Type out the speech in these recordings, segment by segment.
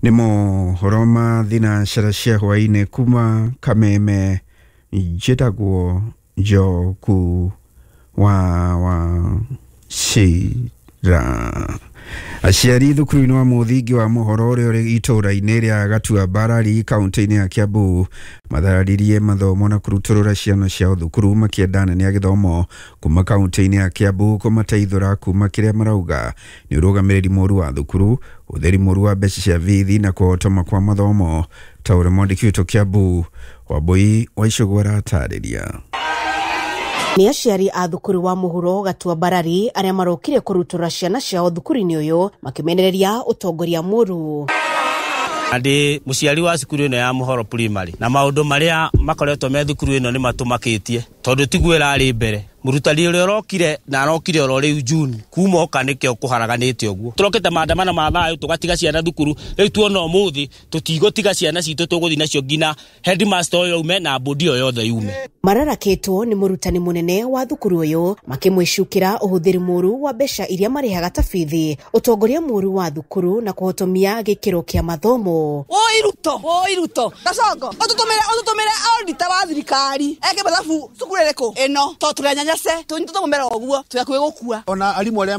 Nĩ mohoro ma thinacara cia hwaĩ-inĩ kuma Kameme. Njĩtagwo Njoku wa Wachira. Aciari thukuru-inĩ wa mũthingi wa mũhoro ũrĩa ũrĩ itũũra-inĩ rĩa Gatuambarari kaunti-inĩ ya Kiambu mathararirie mathomo na kũrutũrũra ciana ciao thukuru makĩenda anene a gĩthomo kuma kaunti-inĩ ya Kiambu kũmateithũra kuma kĩrĩa marauga nĩ ũrũgamĩrĩri mũru wa thukuru, ũtheri mũru wa mbeca cia bithi na kũhotoma kwa mathomo, ta ũrĩa mwandĩki witũ Kiambu Wambui wa Icũgũ aratarĩria. Nĩ aciari a thukuru wa mũhuro Gatuambarari arĩa marokire kũrutũra ciana ciao thukuru-inĩ ũyũ makĩmenereria ũtongoria mũru. Ndĩ mũciari wa cukuru ĩno ya Mũhoro Primary, na maũndũ marĩa makoretwo me thukuru ĩno nĩ matũmakĩtie tondũ tiguo ĩrarĩ mbere. Mũrutani ũrĩa ũrokire na arokire oro rĩu June, kuma oka nĩkĩo kũharaganĩte ũguo. Tũrokĩte maandamano ma thayũ tũgatiga ciana thukuru, rĩu tuona ũmũthĩ tũtigũtiga ciana citũ, tũgũthiĩ nacio nginya headmaster ũyũ aume na bodi ĩyo yothe yume. Mararakĩtwo nĩ mũrutani mũnene wa thukuru ũyũ makĩmwĩcukĩra ũhũthĩri mũru wa mbeca iria marĩhaga ta bithi, ũtongoria mũru wa thukuru na kũhotomia gĩkĩro kĩa mathomo. Woi Ruto, woi Ruto, Gasongo, ũtũtũmĩre auditor wa thirikari eke mathabu cukuru ĩrĩkũ ĩno, tondũ tũrĩ anyanyase, tũmũmera ũguo tũrĩ hakuhĩ gũkua. Ona arimũ arĩa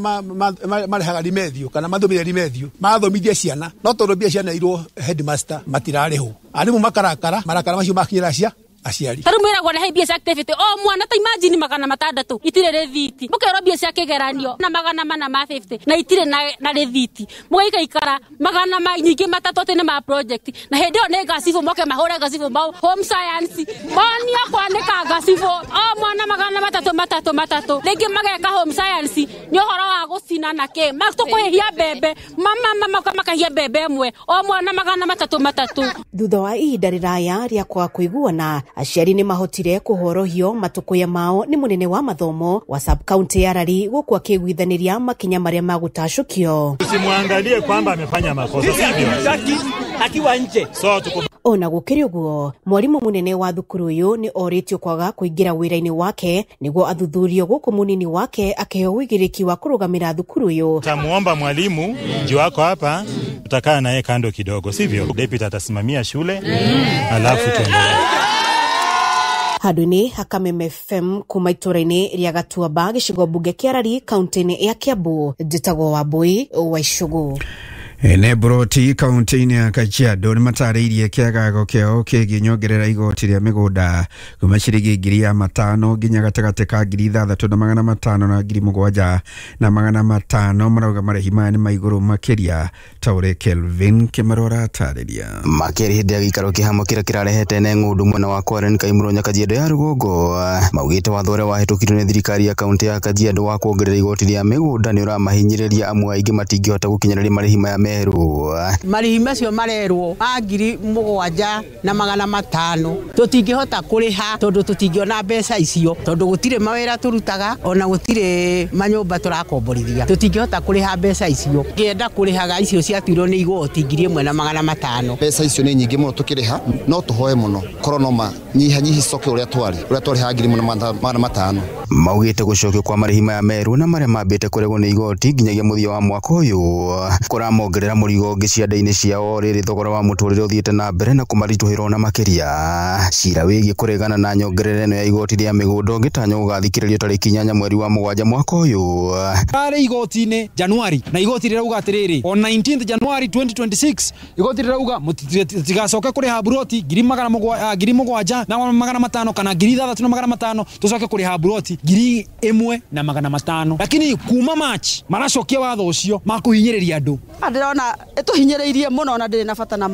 marehaga rimethio kana mathomithia rimethio mathomithia ciana, no tondũ mbia cianeirwo headmaster matirarĩhwo, arimũ makarakara, marakara macio makinyĩra cia aciari. Tarĩu mwĩragwo rehe mbia cia activity o mwana, ta imagine 600 itirĩ rĩthiti, mũkerwo mbia cia kĩgeranio na 450 na itirĩ na rĩthiti, mũgaikaikara magana nyingĩ matatũ atĩ nĩ ma project, na hĩndĩ ĩyo nĩ ngacibũ moke mahũre ngacibũ mau home science, monio kwanĩka ngacibũ o mwana 300 3 3, rĩngĩ mageka home science nĩ ũhoro wa gũcina na kĩ, tũkũhĩhia mbembe, mama makahia mbembe ĩmwe o mwana 300 3. Thutha wa ihinda rĩraya rĩa kwaga kũiguana, aciari nĩ mahotire kũhorohio matũkũya mao nĩ mũnene wa mathomo wa sub county ya Rari gũkũ akĩiguithanĩria makinya marĩa magũtacũkio. Usimwangalie kwamba amefanya makosa, sivyo? Akiwa nje. So tuko Ona gũkĩrĩ ũguo, mwarimũ mũnene wa thukuru ũyũ nĩ orĩtio kwaga kũingĩra wĩra-inĩ wake nĩguo athuthurio gũkũ mũnini wake akĩheo ũigĩrĩki wa kũrũgamĩra thukuru ũyũ. Tamuomba mwalimu juu wako hapa, tutakaa naye kando kidogo, sivyo? Deputy atasimamia shule, alafu tuendelee. Handũ-inĩ ha Kameme FM kuma itũũra-inĩ rĩa Gatuamba gĩcigo mbunge kĩa Rari kaunti-inĩ ya Kiambu, njĩtagwo Wambui wa Icũgũ. Ene broti kaunti-inĩ ya Kajiado nĩ matarĩirie kĩagago kĩao kĩgiĩ nyongerera igoti rĩa mĩgũnda kuma ciringi 5,000 nginya gatagatĩ ka 6,500 na 7,500. Marauga marĩhi maya nĩ ma igũrũ makĩria, ta ũrĩa Kelvin Kĩmarora atarĩria. Makĩria hĩndĩ ya gĩikaro kĩhamo kĩrĩa kĩrarehete ne ng'ũndũ mwena wa Kwaren Kaimũro Kajiado ya rũgongo, maugĩte watho ũrĩa wahĩtũkirio nĩ thirikari ya kaunti ya Kajiado wa kuongerera igoti rĩa mĩgũnda nĩ ũramahinyĩrĩria amu aingĩ matingĩhota gũkinyanĩria marĩhi maya merũ. Marĩhi macio marerwo ma 7,500 tũtingĩhota kũrĩha tondũ tũtingĩona mbeca icio, tondũ gũtirĩ mawĩra tũrutaga ona gũtirĩ manyũmba tũrakomborithia, tũtingĩhota kũrĩha mbeca icio. Ngĩenda kũrĩhaga icio ciatuirwo nĩ igoti 1,500. Mbeca icio nĩ nyingĩ mũno tũkĩrĩha, no tũhoe mũno korwo no manyihanyihi coke ũrĩa twarĩ, ũrĩa twarĩhaga 1,500. Maugĩte gũcokio kwa marĩhi maya merũ na marĩa mambĩte kũregwo nĩ igoti nginyagia mũthia wa mwaka ũyũ kũramongerera mũrigo ũngĩ cianda-inĩ ciao, rĩrĩ thogora wa mũtũrĩre ũthiĩte na mbere na kũmaritũhĩra ona makĩria. Cira wĩgiĩ kũregana na nyongerera ĩno ya igoti rĩa mĩgũnda ũngĩtanywo gũgathikĩrĩrio tarĩki 8 mweri wa 7 mwaka ũyũ. Arĩ igoti-inĩ Januari, na igoti rĩrauga atĩrĩrĩ, on 19th January 2026 igoti rĩrauga mũtigacoke kũrĩha buroti 7,500 kana 6,500, tũcoke kũrĩha buroti 1,500. Lakini kuma March maracokia watho ũcio makũhinyĩrĩria andũ. Ndĩrona ĩtũhinyĩrĩirie mũno na ndĩrĩ na bata na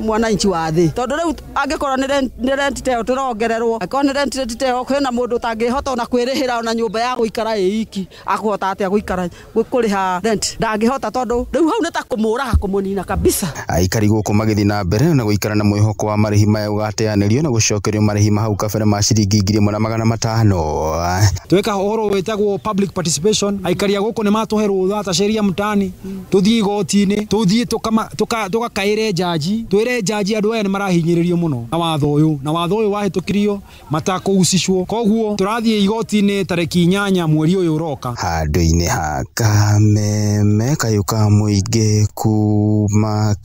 mwananchi wa thĩ, tondũ rĩu angĩkorwo nĩ rent ta ĩyo tũrongererwo, angĩkorwo nĩ rent ta ĩyo kwĩna mũndũ ũtangĩhota ona kwĩrĩhĩra ona nyũmba ya gũikara ĩ iki, akũhota atĩa gũikara kũrĩha rent? Ndangĩhota, tondũ rĩu hau nĩ ta kũmũraga kũmũnina kabisa. Aikari gũkũ magĩthiĩ na mbere na gũikara na mwĩhoko wa marĩhi maya ũgateanĩrio na gũcokerio marĩhi ma hau kabere ma ciringi 1,500. Tweka ũhoro wĩtagwo public participation, aikari a gũkũ nĩ matũhe rũtha ta sheria mtaani, tũthiĩ igoti-inĩ, tũthiĩ tũgakaĩre jaji, twĩre jaji andũ aya nĩ marahinyĩrĩrio mũno na watho ũyũ, na watho ũyũ wahĩtũkirio matakũhusishwo, koguo tũrathiĩ igoti-inĩ tarĩki 8 mweri ũyũ ũroka. Handũ-inĩ ha Kameme kayũ ka mũingĩ kuma